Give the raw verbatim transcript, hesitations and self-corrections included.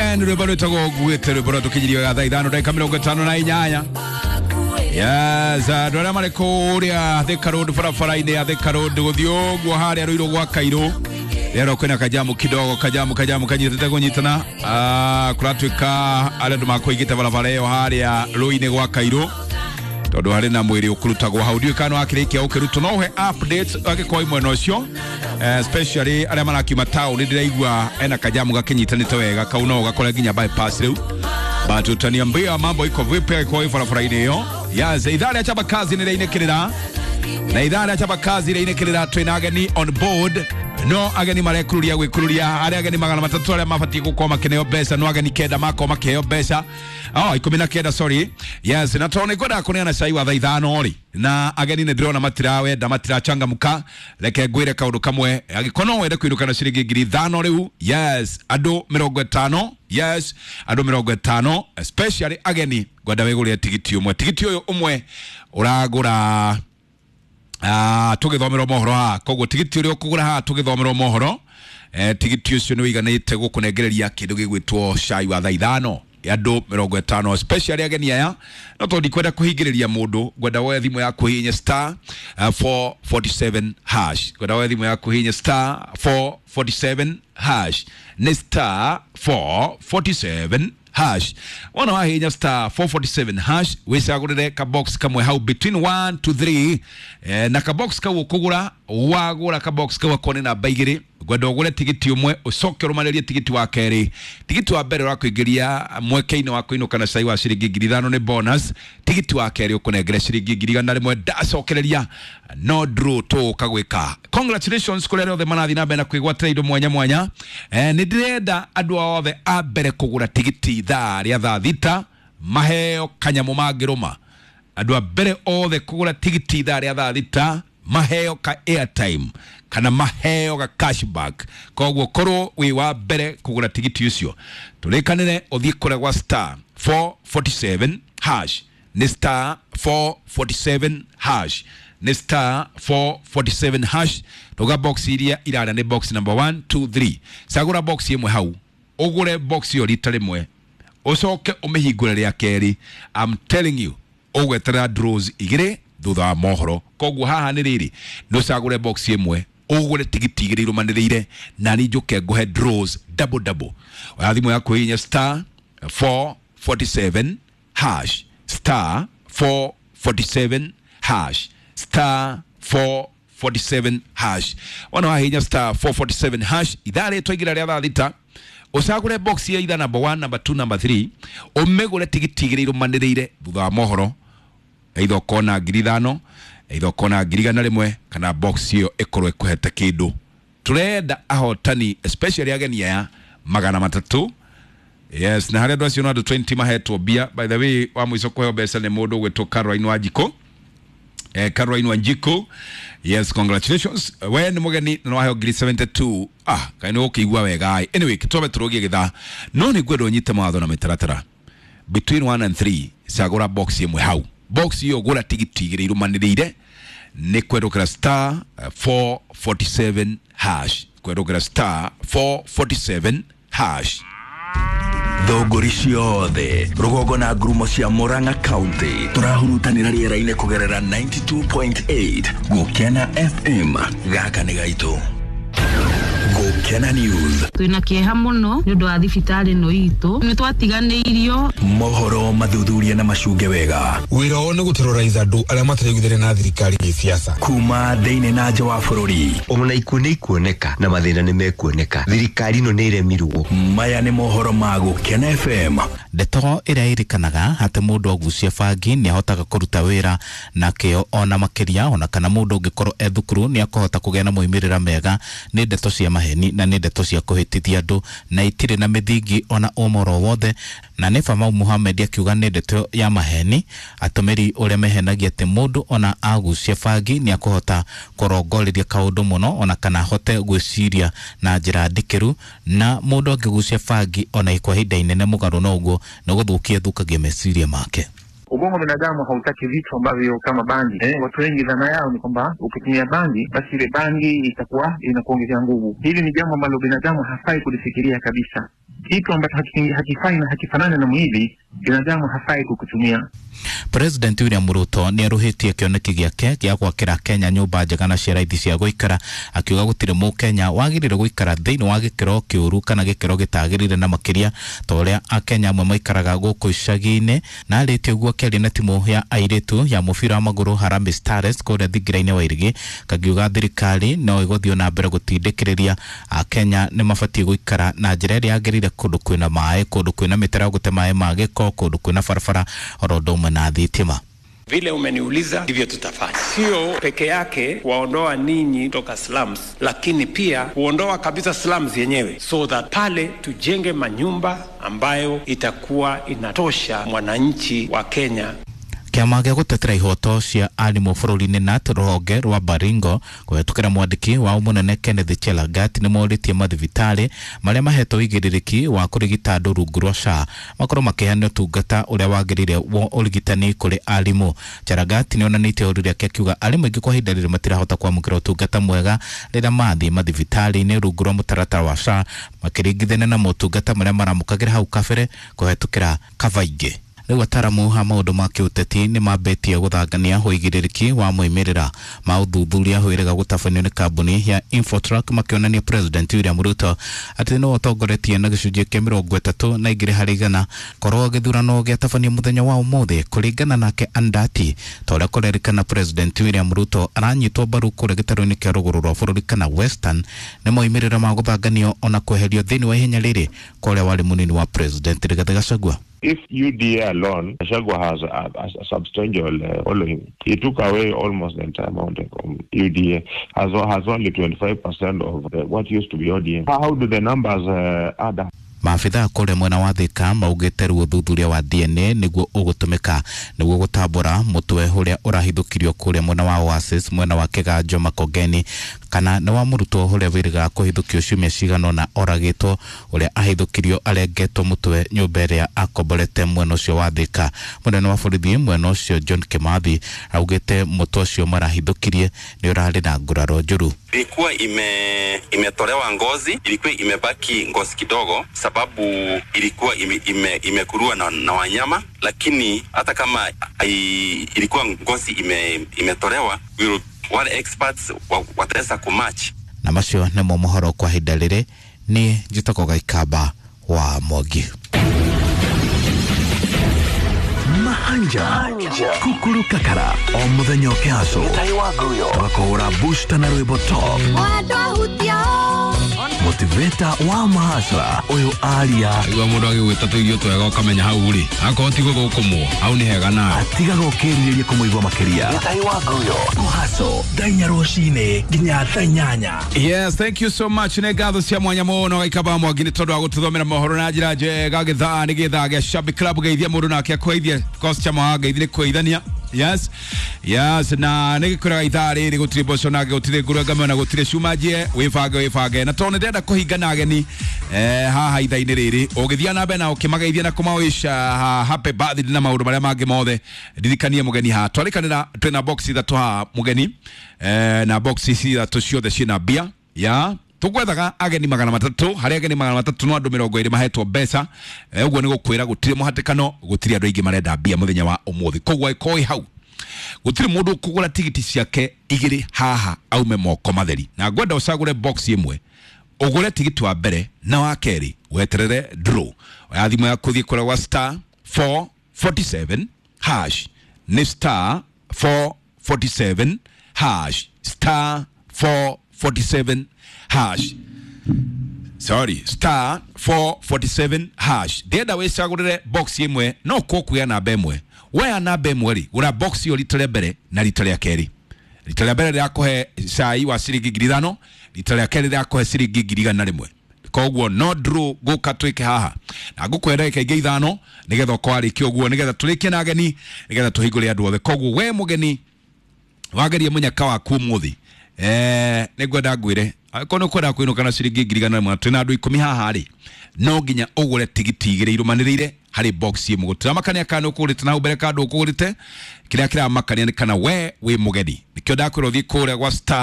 Ben rwimbo rwitagwo nguĩte rwimbo rwa tũkinyirio ga thaa ithano ndagĩka mĩrongo ĩtano na inyanya. Yes, andũ arĩa marĩ kũrĩa Thika Road barabara-inĩ ya Thika Road gũthiĩ ũguo harĩa Ruiru gwa Kairũ rĩero kwĩna kajamu kidogo, kajamu kajamu kanyitĩte kũnyitana. Ah, kũratuĩka arĩa andũ makũigĩte barabara ĩyo harĩa rũĩ-inĩ gwa Kairũ tondũ harĩ na mwĩrĩ ũkũrutagwo hau, ndiũĩ kana wakĩrĩkia ũkĩrutwo. No ũhe updates angĩkorwo mwena ũcio, especially arĩa marakiuma taũni, ndĩraigua ena kajamu gakĩnyitanĩte wega kau no ũgakore nginya bypass rĩu, but utaniambia mambo iko vipi angĩkorwo wĩ barabara-inĩ ĩyo. Yes, ithaa rĩa Chapa Kazi nĩ rĩainĩkĩrĩra na ithaa rĩa Chapa Kazi rĩainĩkĩrĩra twĩna ageni on board, no ageni marekururia gwĩkururia arĩa ageni magana matatũ arĩa mabatiĩ gũkorwo makĩneo mbeca, no ageni kenda makorwo makĩheo mbeca, oh, ikũmi na kenda, sorry. Yes, na tondũ nĩngwendaga kũneana cai wa thaa ithano rĩ, na ageni nĩ ndĩrona matirawenda matirachangamka, reke ngwĩre kaũndũ kamwe. Angĩkorwo no wende kũinũka na ciringi ngiri ithano rĩu, yes, andũ mĩrongo ĩtano, yes, andũ mĩrongo ĩtano especially ageni, ngwenda wĩgũrĩre tigiti ũmwe. Tigiti ũyũ ũmwe ũragũra ah, tũgĩthomerwo mohoro haha, koguo tigiti ũrĩa ũkũgũra haha tũgĩthomerwo mohoro, eh, tigiti ũcio nĩ ũiganĩte gũkũnengereria kĩndũ gĩgwĩtwo cai wa thaa ithano andũ mĩrongo ĩtano especially ageni aya. No tondũ ndikwenda kũhingĩrĩria mũndũ, ngwenda woe thimũ yaku hihinye star uh, four forty-seven hash, ngwenda woe thimũ yaku hihinye star four forty-seven hash, nĩ star four forty-seven hash. Wona wahihinya star four forty-seven hash wĩcagũrĩre ka box kamwe hau between one to three, eh, na ka box kau ũkũgũra, wagũra ka box kau akorwo nĩ namba igĩrĩ, ngwenda ũgũre tigiti ũmwe ũcoke ũrũmanĩrie tigiti wa kerĩ. Tigiti wa mbere ũrakũingĩria mweke-inĩ wa kũinũka na cai wa ciringi ngiri ithano nĩ bonus, tigiti wa kerĩ ũkũnengere ciringi ngiri igana rĩmwe ndacokereria no draw tũũka gwĩka. Congratulations kũrĩ arĩa othe marathiĩ na mbere na kwĩgwatĩra indo mwanya mwanya. Eh, nĩ ndĩrenda andũ othe a mbere kũgũra tigiti ithaa rĩa thaa thita maheo kanyamũ mangĩrũma. Andũ a mbere othe kũgũra tigiti ithaa rĩa thaa thita maheo ka airtime kana maheo ga cashback. Koguo korwo wĩ wa mbere kũgũra tigiti ũcio, tũrĩkanĩre ũthiĩ kũrĩa gwa star four forty-seven hash, nĩ star four forty-seven hash, nĩ star four forty-seven hash. Tũga box iria irara nĩ box number one, two, three. Cagũra box ĩmwe hau, ũgũre box ĩyo rita rĩmwe, ũcoke ũmĩhingũre rĩa kerĩ. I'm telling you, ũgweterera draws igĩrĩ thutha wa mohoro. Koguo haha nĩ rĩrĩ, nĩ ũcagũre box ĩmwe, ũgũre tigiti igĩrĩ irũmanĩrĩire, na niĩ njũke ngũhe draws double double. Oya thimũ yaku hihinya star four forty-seven hash, star four forty-seven hash, star four forty-seven hash. Wona wahihinya star four forty-seven hash, ithaa rĩtwa igĩra rĩa thaa thita, ũcagũre box ya either number one, number two, number three, ũmĩgũre tigiti igĩrĩ irũmanĩrĩire thutha wa mohoro, either ũkona ngiri ithano, either ũkona ngiri igana rĩmwe, kana box ĩyo ĩkorwo ĩkũhete kĩndũ. Tũrenda ahotani especially ageni aya magana matatũ. Yes, na harĩa andũ acio no andũ twenty mahetwo mbia. By the way, wa mũico kũheo mbeca nĩ mũndũ ũgwĩtwo Caroline Wanjikũ. Eh, Caroline Wanjikũ, yes, congratulations. We nĩ mũgeni na waheo ngiri seventy-two. Ah, kaĩ nĩ ũkĩigua wega. Anyway, twambe tũrũgie gĩthaa, no nĩ ngwenda ũnyite mawatho na mĩtaratara. Between one and three, cagũra box ĩmwe hau. Box ĩyo gũra tigiti igĩrĩ irũmanĩrĩire, nĩ kwendũkĩra star four forty-seven hash, kwendũkĩra star four forty-seven hash. Thũngũri ciothe rũgongo na ngurumo cia Murang'a County tũrahurutanĩra rĩera-inĩ kũgerera ninety-two point eight Gũkena F M. Gaka nĩ gaitũ. Gũkena News. Twĩna kĩeha mũno nĩ ũndũ wa thibitarĩ ĩno itũ, nĩ twatiganĩirio. Mohoro mathuthuria na macunge wega. Wĩra wao nĩ gũterrorize andũ arĩa mataraiguithania na thirikari gĩsiasa. Kuma thĩinĩ na nja wa bũrũri. Ona ikuũ nĩ ikuoneka na mathĩna nĩ mekuoneka. Thirikari ĩno nĩ ĩremirwo. Maya nĩ mohoro ma Gũkena F M. Ndeto ĩrĩa ĩrĩkanaga atĩ mũndũ agucia bangi nĩ ahotaga kũruta wĩra na kĩo ona makĩria, ona kana mũndũ ũngĩkorwo e thukuru nĩ akũhota kũgĩa na moimĩrĩra mega, nĩ ndeto cia maheni na nĩ ndeto cia kũhĩtithia andũ na itirĩ na mĩthingi ona ũmoro wothe. Na nĩ Famau Mohamed akiuga nĩ ndeto ya maheni atũmĩri ũrĩa mehenagia atĩ mũndũ ona agucia bangi nĩ akũhota kũrongoreria kaũndũ mũno ona kana ahote gwĩciria na njĩra ndikĩru, na mũndũ angĩgucia bangi ona kwa ihinda inene mũgarũ na ũguo nĩ gũthũkia thũkagia meciria make. Ubongo wa binadamu hautaki vitu ambavyo kama bangi. Eh, watu wengi dhana yao ni kwamba ukitumia bangi basi ile bangi itakuwa inakuongezea nguvu. Hili ni jambo ambalo binadamu hafai kulifikiria kabisa. Kitu ambacho hakifai na hakifanani na mwili, binadamu hafai kukutumia. President William Ruto nĩ arũhĩtie kĩoneki gĩake gĩa gwakĩra Kenya nyũmba njega na cia raithi cia gũikara, akiuga gũtirĩ mũkenya wagĩrĩire gũikara thĩinĩ wa gĩkĩro kĩũru kana gĩkĩro gĩtagĩrĩire, na makĩria ta ũrĩa akenya amwe maikaraga gũkũ icagi-inĩ. Na arĩtie ũguo akĩaria na timu ya airĩtu ya mũbira wa magũrũ Harambee Stars kũrĩa thingira-inĩ wa Irigi, kagiuga thirikari no ĩgũthiĩ na mbere gũtindĩkĩrĩria akenya nĩ mabatiĩ gũikara na njĩra ĩrĩa yagĩrĩire, kũndũ kwĩna maĩ, kũndũ kwĩna mĩtaro ya gũte maĩ ma gĩko, kũndũ kwĩna barabara oro ũndũ ũmwe na thitima. Vile umeniuliza ndivyo tutafanya, sio peke yake kuwaondoa ninyi toka slums, lakini pia kuondoa kabisa slums yenyewe, so that pale tujenge manyumba ambayo itakuwa inatosha mwananchi wa Kenya. Kĩama gĩa gũtetera ihoto cia arimũ bũrũri-inĩ K N U T rũhonge rwa Baringo kũhetũkĩra mwandĩki wao mũnene Kenneth Chelagat nĩ morĩtie mathibitarĩ marĩa mahetwo ũigĩrĩrĩki wa kũrigita andũ rungu rwa S H A makorwo makĩheana ũtungata ũrĩa wagĩrĩire wa ũrigitani kũrĩ arimũ. Chelagat nĩ onanĩtie ũru rĩake akiuga arimũ aingĩ kwa ihinda rĩrĩ matirahota kwamũkĩra ũtungata mwega rĩrĩa mathiĩ mathibitarĩ-inĩ rungu rwa mũtaratara wa S H A makĩringithania na motungata marĩa maramũkagĩra hau kabere kũhetũkĩra kaba ingĩ. Rĩu ataramu a maũndũ ma kĩũteti nĩ mambĩtie gũthangania ũigĩrĩrĩki wa moimĩrĩra ma ũthuthuria wĩrĩga gũtabanio nĩ kambuni ya Infotrack, makĩonania President William Ruto atĩ nĩwe ũtongoretie na gĩcunjĩ kĩa mĩrongo ĩtatũ na igĩrĩ harĩ igana korwo gĩthurano gĩatabanio mũthenya wa ũmũthĩ. Kũringana nake Andati, ta ũrĩa kũrerĩkana President William Ruto aranyitwo mbaru kũrĩa gĩtarũ-inĩ kĩa rũgũrũ rwa bũrũri kana Western nĩ moimĩrĩra ma gũthanganio ona kweherio thĩinĩ wa ihenya rĩrĩ kwa ũrĩa warĩ mũnini wa President Rigathi Gachagua. If U D A alone, Gachagua has a, a, a substantial uh, following. He took away almost the entire mountain from U D A, has, has only twenty-five percent of the, what used to be O D M. How do the numbers uh, add up? Maabithaa kũrĩa mwena wa Thika maugĩte rĩu ũthuthuria wa D N A nĩguo ũgũtũmĩka nĩguo gũtambũra mũtwe ũrĩa ũrahithũkirio kũrĩa mwena wa Oasis mwena wa Kĩganjo Makongeni, kana nĩ wa mũrutwo ũrĩa wĩrĩgaga kũhithũkio ciumia cigana ũna oragĩtwo, ũrĩa ahithũkirio arengetwo mũtwe nyũmba ĩrĩa akomborete mwena ũcio wa Thika. Mũnene wa borithi mwena ũcio John Kimathi augĩte mũtwe ũcio marahithũkirie nĩ ũrarĩ na nguraro njũru. Ilikuwa ime imetolewa ngozi, ilikuwa imebaki ngozi kidogo sababu ilikuwa ime, ime, imekurua na, na wanyama, lakini hata kama i, ilikuwa ngozi ime, imetolewa, wale experts wataweza kumatch. Na macio nĩmo mohoro kwa ihinda rĩrĩ. Niĩ njĩtagwo Gaikamba wa Mwangi. Mahanja Kukuru Kakara o muthenya ũkĩhaco tũgakũhũra booster na rwĩmbo top motivator wa mahasra ũyũ aria igua mũndũ agĩgwĩta tũirio twega ũkamenya hau rĩ akorwo ti gũthũkũmwo hau nĩ hega nawe atigaga ũkĩrirĩria kũmũigua makĩria kũhaco thaa inya rũcinĩ nginya thaa inyanya. Yes, thank you so much. Nĩ ngatho cia mwanya mũno Gaikamba Mwangi nĩ tondũ wa gũtũthomera mohoro na njĩra njega. Gĩthaa nĩ gĩthaa gĩa Shabik Club, geithia mũndũ nake akũgeithie customer wa ngeithi nĩ kũgeithania. Yes, yes, na nĩ gĩkwĩraga ithaa rĩrĩ gũtirĩ mboco na gũtirĩ ngũrwe ngano na gũtirĩ cuma njie, wĩbange wĩbange. Na tondũ nĩndĩrenda kũhinga na ageni eh, haha ithaa-inĩ rĩrĩ, ũgĩthiĩ na mbere na ũkĩmageithia na kũmawish happy birthday na maũndũ marĩa mangĩ mothe, ndirikanie mũgeni haha. Twarĩkanĩra twĩna box ithatũ haha mũgeni, eh, na box ici ithatũ ciothe ciĩna mbia ya tugwethaga ageni magana matatu, harĩ ageni magana matatu no andũ mĩrongo ĩrĩ mahetwo mbeca. Ũguo nĩ gũkwĩra gũtirĩ mũhatĩkano, gũtirĩ andũ aingĩ marenda mbia mũthenya wa ũmũthĩ. Koguo ĩkorwo ĩ hau, gũtirĩ mũndũ ũkũgũra tigiti ciake igĩrĩ haha aume moko matheri. Na ngwenda ũcagũre box ĩmwe, ũgũre tigiti wa mbere na wa kerĩ, weterere draw. Oya thimũ yaku thiĩ kũrĩa gwa star four forty-seven hash, nĩ star four forty-seven hash, star four forty-seven hash, sorry, star four forty-seven hash. Ndĩrenda wĩcagũrĩre box ĩmwe, no kwo kuoya namba ĩmwe. Woya namba ĩmwe rĩ, gũra box ĩyo rita rĩa mbere na rita rĩa kerĩ. Rita rĩa mbere rĩrakũhe cai wa ciringi ngiri ithano, rita rĩa kerĩ rĩrakũhe ciringi ngiri igana rĩmwe. Koguo no draw gũka twĩke haha na ngũkũhe ndagĩka ingĩ ithano nĩgetha ũkorwo warĩkia ũguo, nĩgetha tũrĩkie na ageni, nĩgetha tũhingũre andũ othe. Koguo we mũgeni wagerie mũnyaka waku ũmũthĩ, eh, nĩngwenda ngwĩre angĩkorwo nĩ ũkwenda kũinũka na ciringi ngiri igana rĩmwe, twĩna andũ ikũmi haha rĩ, no nginya ũgũre tigiti igĩrĩ irũmanĩrĩire harĩ box ĩmwe. Gũtiramakania kana nĩ ũkũgũrĩte na hau mbere kana ndũkũgũrĩte, kĩrĩa kĩramakania nĩ kana we wĩ mũgeni. Nĩkĩo ndakwĩra ũthiĩ kũrĩa gwa star